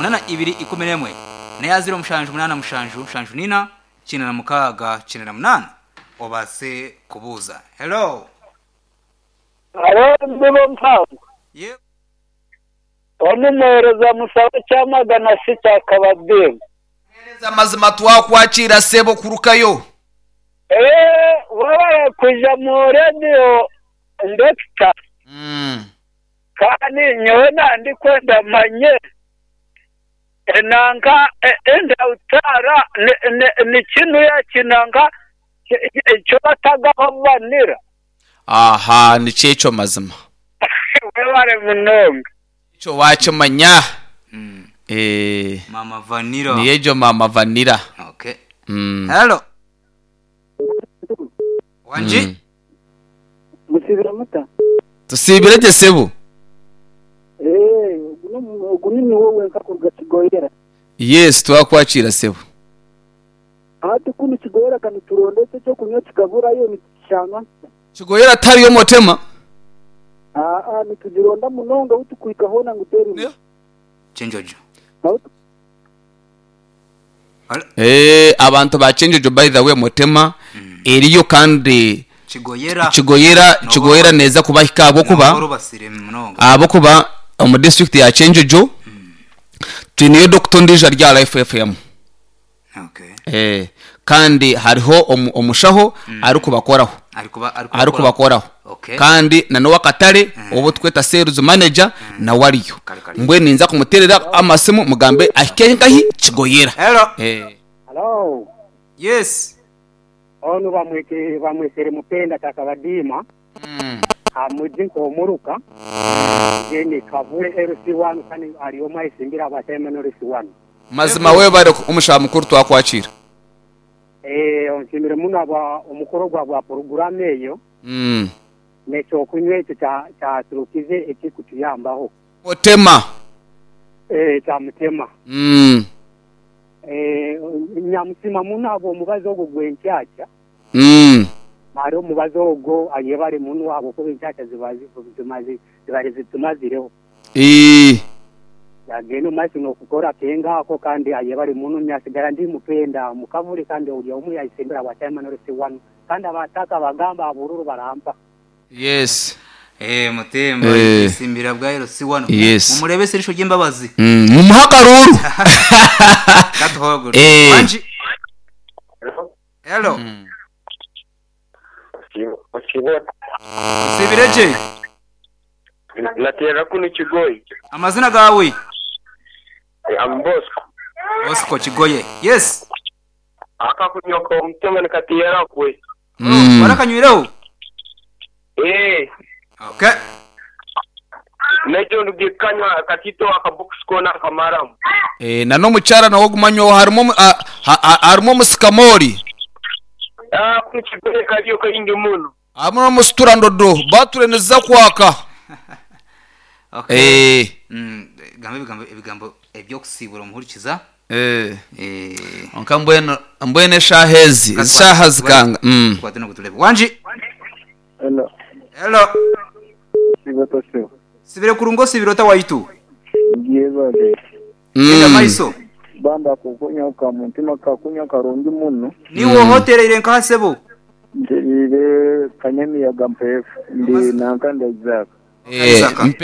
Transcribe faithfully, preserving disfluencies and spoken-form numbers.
Munana ibiri ikumi n'emwe neya ziro mushanju munana mushanju mushanju nina kyenda na mukaaga kyenda na munaana obaase kubuuza. Hello. Haro mbibo mpango. Ye Onumuhereza musabe kyamagana sita akababinga. Hereza amazima twakwakira sebo kurukayo. Eh, wabara kuja mu radio ndekita Mm. kandi nyowe nandi kwenda manye enanga endautara ni kinu ya kinanga icyo batagaho banira. Aha, nikyekyo mazima. Webare munonga. Ekyo wakimanya. Mm. Eh, Mama Vanilla. niyejo mama Vanilla. Okay. Mm. Hello. Wanji. Mm. Musibira muta. Tusibire gye sebo. Eh, ogu ni wowe nkakuruga Kigoyera. Yes, twakwakira sebo. Hati kunu Kigoyera kani turondese ekyo kunywa kikaburayo nitukishanga. Kigoyera tariyo motema. Ah ah nitugironda munonga utukwika hona ngu teri. Yeah. Chenjojo. Aho Eh, abantu ba Chenjojo by the way motema eriyo kandi Kigoyera. Kigoyera Kigoyera neza kubahika abo kuba Nabo basire munonga. abo kuba omu district ya Chenjojo twiniyo Doctor Ndija rya Life F M. Okay. Eh, kandi hariho omu- omushaho ari kubakoraho. Ari kuba Ari kubakoraho. Okay. Kandi na nowa katare obo tweta sales manager na wariyo. Kare, kare. Mbwe ninza kumuterera amasimu mugambe ahike nkahi Kigoyera. Hello. Eh. Hello. Yes. Ono bamweke bamwesere mupenda takabadima. Mm. Amuji nkomuruka. Jeni kavule L C one kandi ari omwisimbira abatema no L C one. Mazima we bari omushaho mukuru twakwakira. Eh, onshimire muno aba omukoro gwa bwa program eyo. Mm. Nekyo kunywa ekyo kya kyaturukize ekikutuyambaho. Mutema. Eh, kya mutema. Mm. Eh, nyamutima muno abo omubazi ogwo gwenkyakya. Mm. Mari omubazi ogwo ayebare muno abo kuba enkyakya zibazi zimaze zibari zitumazireho. Eh. Yagenda maiso n'okukora kengako kandi ayebare muno nyasigara ndi mupenda mukavule kandi ori omwe yayisembera bwatema no L C one kandi abataka bagamba abururu barampa. Yes. Eh, mutemba Eh. simbira bwa L C one. Yes. Mumurebe serisho ry'imbabazi. Mm. Mumuhakaruru. Katuhogoro. Eh. Wanji. Hello. Mm. Sibireje. Natera kuno Kigoyi. Amazina gawe. Am Bosco. Bosco Kigoye. Yes. Akakunyoka omutema nikatera kwe. Mm. Warakanywireho. Eh. Okay. Nejo ndugikanywa katito akabox kona kamaramu. Eh, na no mucyara nawo gumanywa harimo harimo musikamori. Ah, kuno Kigoye kariyo kayingi muno. Harimo musitura ndodo batureneza kwaka. Okay. Eh. Mm, gambe ebigambo ebigambo ebyokusibura omuhurikiza. Eh. Eh. Onka mbwene mbwene shahezi shaha zikanga. Mm. Kwate no kutulebe. Wanji. Hello. Hello. Sibato sio. Sibire kurungo sibirota waitu. Ngiye Genda Mm. maiso. Banda kukunya ka mutima kakunya karungi muno. Niwo hotel ile nkasebo. Ndirire kanyamiyaga mpefu ndi nankanda Isaac. Eh, mpe